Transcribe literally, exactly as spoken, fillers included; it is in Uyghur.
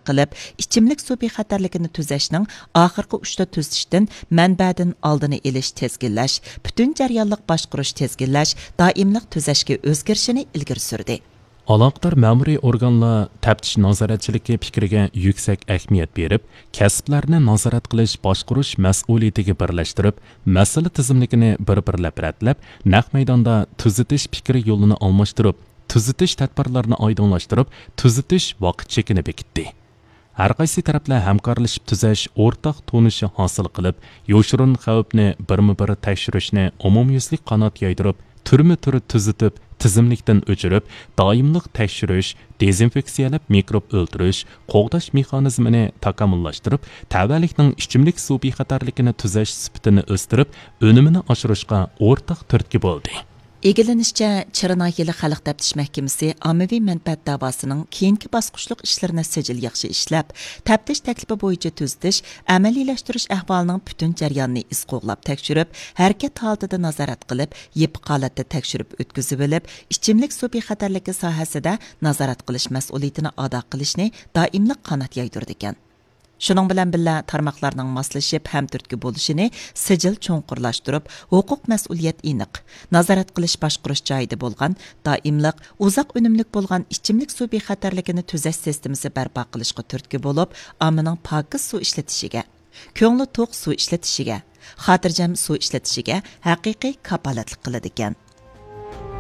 قىلىپ، ئىچىملىك سۇ بىخەتەرلىكىنى تۈزەشنىڭ ئاخىرقى ئۇچتا تۈزىتىشتىن مەنبەدىن ئالدىنى ئېلىش، تىزگىنلەش، پۈتۈن جەريانلىق باشقۇرۇش، تىزگىنلەش، دائىملىق تۈزەشكە ئۆزگىرىشىنى ئىلگىرى سۈردى. ئالاقىدار مەمۇرىي ئورگانلار تەپتىش نازارەتچىلىكى پىكرىگە يۈكسەك ئەھمىيەت بېرىپ، كەسىپلەرنى نازارەت قىلىش، باشقۇرۇش مەسئۇلىيىتىگە بىرلەشتۈرۈپ، مەسىلە تىزىملىكىنى بىر-بىرلەپ رەتلەپ، نەق مەيداندا تۈزىتىش پىكرى يولىنى ئالماشتۇرۇپ، تۈزىتىش تەدبىرلىرىنى ئايدىڭلاشتۇرۇپ، تۈزىتىش ۋاقىت چېكىنى بېكىتتى. ھەر قايسى تەرەپلەر ھەمكارلىشىپ تۈزەش ئورتاق تونۇشى ھاسىل قىلىپ، يوشۇرۇن خەۋپنى بىرمۇ بىر تەكشۈرۈشنى ئومۇميۈزلۈك قانات يايدۇرۇپ، تۈرمە تۈر تۈزىتىپ، تىزىملىكتىن ئۆچۈرۈپ، دائىملىق تەكشۈرۈش، دېزىنفېكسىيەلەپ مىكروب ئۆلتۈرۈش، قوغداش مېخانىزمىنى تاكامۇللاشتۇرۇپ، تەۋەلىكنىڭ ئىچىملىك سۇ بىخەتەرلىكىنى تۈزەش سۈپىتىنى ئۆستۈرۈپ، ئۈنۈمىنى ئاشۇرۇشقا ئورتاق تۈرتكە بولدى. ئىگىلىنىشىچە، چىرىناھىيەلىك خەلق تەپتىش مەھكىمىسى ئاممىۋى مەنپەئەت داۋاسىنىڭ كېيىنكى باسقۇچلۇق ئىشلىرىنى سىجىل ياخشى ئىشلەپ، تەپتىش تەكلىپى بويىچە تۈزىتىش، ئەمەلىيلەشتۈرۈش ئەھۋالىنىڭ پۈتۈن جەريانىنى ئىز قوغلاپ تەكشۈرۈپ، ھەرىكەت ھالىتىدە نازارەت قىلىپ، يېپىق ھالەتتە تەكشۈرۈپ ئۆتكۈزۈۋېلىپ، ئىچىملىك سۇ بىخەتەرلىكى ساھەسىدە نازارەت قىلىش مەسئۇلىيىتىنى ئادا قىلىشنى دائىملىق قانات يايدۇرىدىكەن. شۇنىڭ بىلەن بىللە، تارماقلارنىڭ ماسلىشىپ ھەمتۈرتكە بولۇشىنى سىجىل چوڭقۇرلاشتۇرۇپ، ھوقۇق مەسئۇلىيەت ئېنىق، نازارەت قىلىش باشقۇرۇش جايىدا بولغان، دائىملىق، ئۇزاق ئۈنۈملۈك بولغان ئىچىملىك سۇ بىخەتەرلىكىنى تۈزەش سىستېمىسى بەرپا قىلىشقا تۈرتكە بولۇپ، ئاممىنىڭ پاكىز سۇ ئىشلىتىشىگە، كۆڭلى توق سۇ ئىشلىتىشىگە، خاتىرجەم سۇ ئىشلىتىشىگە ھەقىقىي كاپالەتلىك قىلىدىكەن.